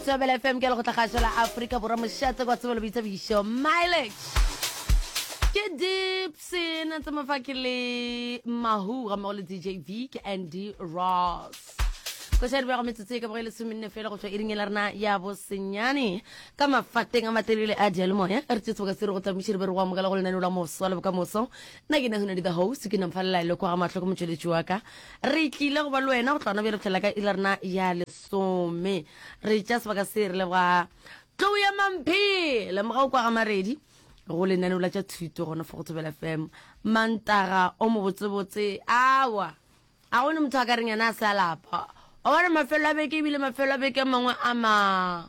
Thobela FM ke lekgotlakgašo la Afrika Borwa mošate kwa tsebelo boithabišo mileage ke Dipson tse mafa ke le Mahu ga mmogo le DJ V ke Andy Ross koša di bego metsotso e ka bogo e lesomenne fela go tšwa iring e la rena ya bosenyane ka mafateng a matelele a dialemoya re tše seboka se re go tamiše re be re go amogela go lenaneo la moswa le bokamoso nna ke nahunadi the host ke namfalela le kwa ga mahlo ke motšweletši wa ka re tlile go ba le wena go tlona bjale fihlela ka iri la rena ya lesome re tša sebaka se re leboga tlou ya mamphe lemoga o kwa ga maredi go lenaneo la tša thuto gona fo go thobela fm mantaga o mobotsebotse awa a gone motho a ka reng yena a se a lapa wa bona mafelo a beke ebile mafelo a beke a mangwe a ma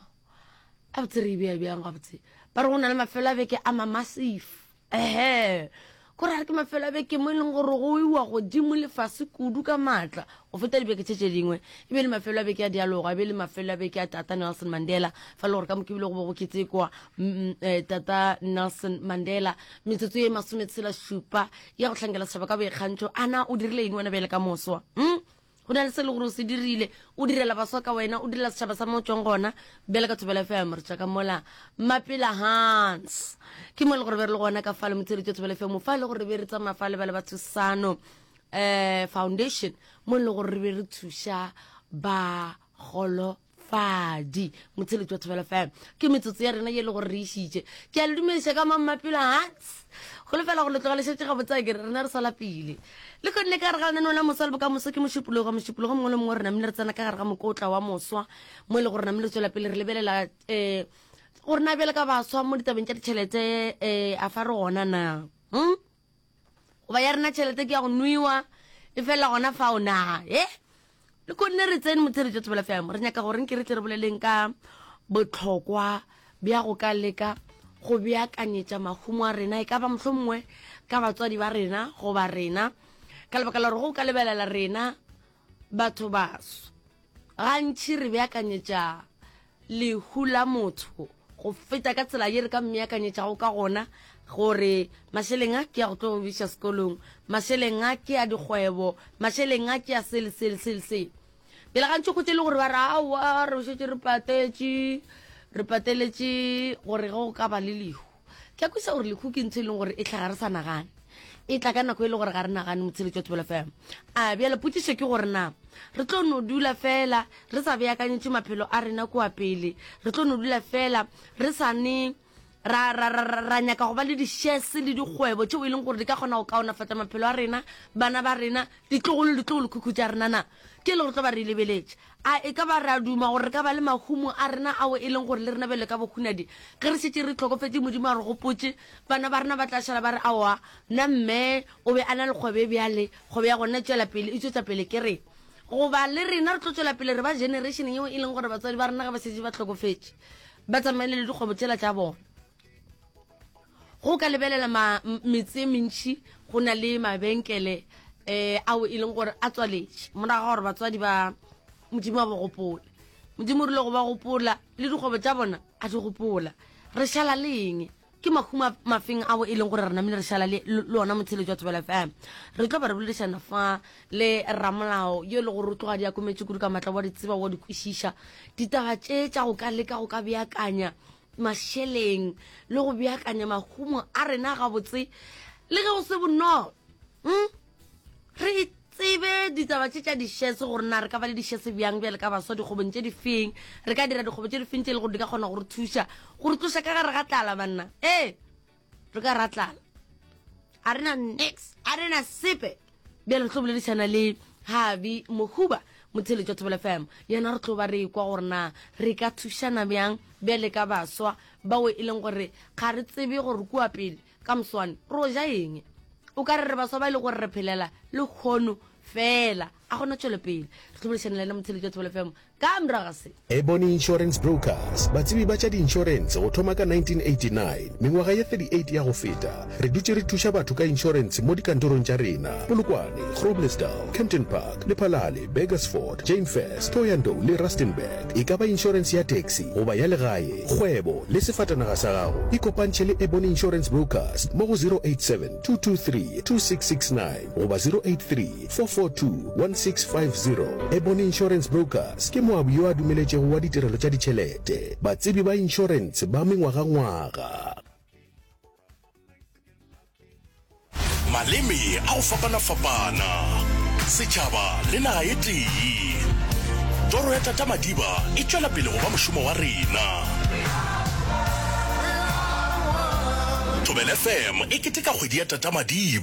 a botse re e bea bjang gabotse ba re go na le mafelo a beke a ma massive Ehe, ko ra re ke mafelo a beke mo e leng gore go iwa godimo le fase kudu ka maatla go feta dibeke tše tše dingwe. E be le mafelo a beke a dialogo, e be le mafelo a beke a Tata Nelson Mandela, fa le gore ka moke ebile go be go ketekwa mm, eh, Tata Nelson Mandela. Metsotso ye masometshela šupa ya go hlankela setšhaba ka boikgantšho. Ana o dirile eng wena bjale ka moswa? Mm? Go na le se le gore o se dirile, o direla baswa ka wena, o direla setšhaba sa mo o tšwang gona. Bjale ka Thobela FM re tšwa ka mola Mapela Hans. Ke mo e le gore be re le gona ka fale motsheletšo Thobela FM fa e le gore re be re tsamaya fa le ba le ba Thusano eh Foundation mo e le gore re be re thuša ba golo fadi motsheletši wa thobela fm ke metsotso ya rena ye e le gore re išitše ke a le dumediša ka mammapelo hans go lefela gore le tloga le šetše gabotse a kere rena re sa lapile le kgonne ka gare ga lenaneo la moswa le bokamoso ke mošupologo mošupologo mongwe le mongwe re namile re tsena ka gare ga mokotla wa moswa mo e le gore namile re tswela pele re lebelela um gore na bjale ka baswa mo ditabeng tša ditšhelete um a fa re gona na hmm? goba ya rena tšhelete ke ya go nwewa e felela gona fao na e le konne re tsene motheretšo tsebela fm re nyaka gore nke re tle re boleleng ka botlhokwa bja go ka leka go beakanyetša mahumo a rena e ka ba mohlho mongwe ka batswadi ba rena goba rena ka lebaka la gore go ka lebelela rena batho baso Gantši re beakanyetša lehu la motho go feta ka tsela ye re ka mmeakanyetšago ka gona gore mašeleng a ke ya go tlo go biša sekolong, mašeleng a ke ya dikgwebo, mašeleng a ke ya sele sele sele sele. Pele gantši go tše le gore ba re aowa re šetše re patetše re pateletše gore ge go ka ba le lehu. Ke a kwešiša gore lehu ke ntho e leng gore e hlaga re sa nagane. E tla ka nako e le gore ga re nagane motsheletši wa Thobela FM. A bjale potšišo ke gore na re tlo no dula fela re sa beakanyetše maphelo a rena kua pele, re tlo no dula fela re sa ne ra, ra, ra, ra, ra nyaka go ba le di-shares le dikgwebo tšeo e leng gore di ka kgona go kaonafatša maphelo a rena, bana ba rena, ditlogolo, ditlogolokhukhu tša rena na? Ke e le gore tlo ba re e lebeletše. A e ka ba re a duma gore re ka ba le mahumo a rena ao e leng gore le rena bjalo ka bohunadi ge re šetše re hlokofetše Modimo a re gopotše, bana ba rena ba tla šala ba re, Aowa, nna mme o be a na le kgwebo e bjale, kgwebo ya gona e tšwela pele, e tšwetša pele ke rena. Goba le rena re tlo tšwela pele re ba generation yeo e leng gore batswadi ba rena ge ba šetše ba hlokofetše ba tsamaile le dikgwebo tšela tša bona. Go ka lebelela ma, metse e mentši go na le mabenkele um ao e leng gore a tswaletše morago ga gore batswadi ba modimo a ba gopola modimo o rile go ba gopola le dikgwebo tša bona a di gopola re šala le eng ke mahumo mafeng ao e leng gore re namile re šala le le ona motsheletso wa Thobela FM re tlo ba re boledišana fa le ramolao yo e le gore o tloga di akometše kudu ka matla wa di tseba wa di kwešiša ditaba tše tša go ka leka go ka beakanya mašeleng le go beakanya mahumo a rena gabotse le ge go se bonolo hmm? re tsebe ditaba tše tša dišese gore na re ka ba le dišese bjang bjale ka baswa dikgobong tše di feng re ka dira dikgobo tše di feng tše e le gore di ka kgona go re thuša go re tloša ka gare ga tlala banna ee re ka ra tlala a re na nix a re na sepe bjale re tlo boledišana le habi mohuba motheletši wa thobela fm yena re tlo ba re kwa gore na re ka thušana bjang bjale ka baswa bao e leng gore ga re tsebe gore kua pele ka moswane ro ja eng o ka re re baswa ba e leng gore re phelela le kgono fela a gona tšwelopele re tlo boledišana le yena motheletši wa thobela fm Ka morago ga se. Ebony Insurance Brokers, batsebi ba tša diinšorense go thoma ka 1989, mengwaga ye 38 ya go feta, re dutše re thuša batho ka inšorense mo dikantorong tša rena, Polokwane, Groblersdal, Kempton Park, Lephalale, Burgersfort, Jane Furse, Thohoyandou le Rustenburg. E ka ba inšorense ya taxi goba ya legae, kgwebo le sefatanaga sa gago, ikopantšhe le Ebony Insurance Brokers mo go 087 223 2669 goba 083 442 16. 8650. Ebony Insurance Brokers ke moabi yo a dumeletšego wa ditirelo tša ditšhelete, batsebi ba inšorentshe ba mengwagangwaga. Maleme a go fapana-fapana, setšhaba le naga e tee. Toro ya Tata Madiba e tšwela pele go ba mošomo wa rena. Thobela FM e keteka kgwedi ya Tata Madiba.